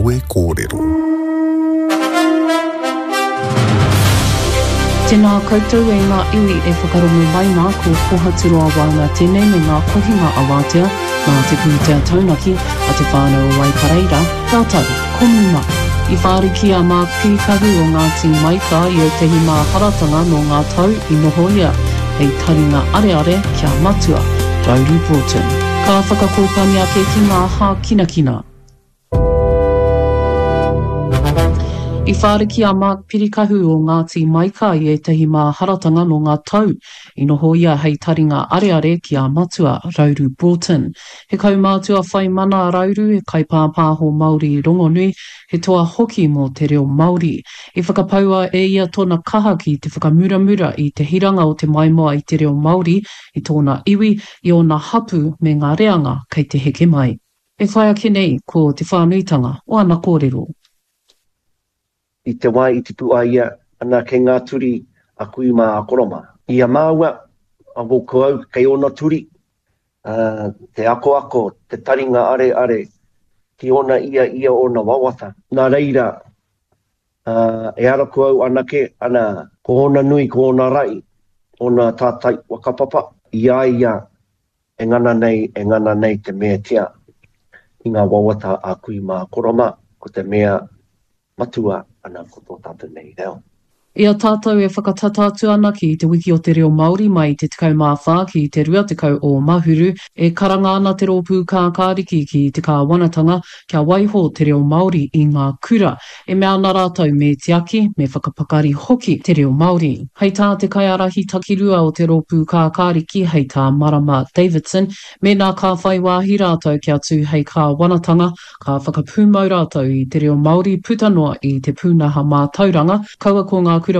Kawe Kōrero. Tēnā koutou e ngā iwi e whakarongo mai nā, ko Kohaturoa Wauna tēnei me ngā kohinga awatea nā te pūtea taunaki a Te Whānau o Waikareira rātou ko Muma. I whāriki a Mark Pīkahu o Ngāti Maika i ētahi māharatanga nō ngā tau i noho ia hei taringa areare ki a Matua Rauru Broughton. Ka whakakōpani ake ki ngā hākinakina. I whāriki a Mark Pirikahu o Ngāti Maika i ētahi māharatanga nō ngā tau i noho ia hei taringa areare ki a Matua Rauru Broughton. He kaumātua whai mana a Rauru, he kaipāpāho Māori rongonui, he toa hoki mō te reo Māori. I whakapaua e ia tōna kaha ki te whakamuramura i te hiranga o te maimoa i te reo Māori i tōna iwi, i ōna hapū me ngā reanga kei te heke mai. E whai ake nei ko te whānuitanga o ana kōrero. I te wā i tipu ai ia, ana kei ngā turi a kui mā a koro mā. I a māua, a ko au kei ōna turi, ā, te akoako, te taringa areare ki ōna ia ia ōna wawata. Nā reira, ā, ehara ko au anake, ana, ko ōna nui, ko ōna rahi, ōna tātai whakapapa, i a ia E ngana nei, e ngana nei te meatia i ngā wawata a kui mā koro mā, ko te mea matua ana ko tō tātou nei reo. I a tātou e whakatata atu ana ki Te Wiki o te Reo Māori mai i te 14 ki te 20 o Mahuru, e karanga ana te Rōpū Kākāriki ki te kāwanatanga kia waiho te reo Māori i ngā kura. E mea ana rātou me tiaki, me whakapakari hoki te reo Māori. Hei tā te kaiārahi takirua o te Rōpū Kākāriki, hei tā Marama Davidson, mēnā ka whai wāhi rātou kia tū hei kāwanatanga, ka whakapūmau rātou i te reo Māori puta noa i te pūnaha mātauranga, kaua ko ngā kura.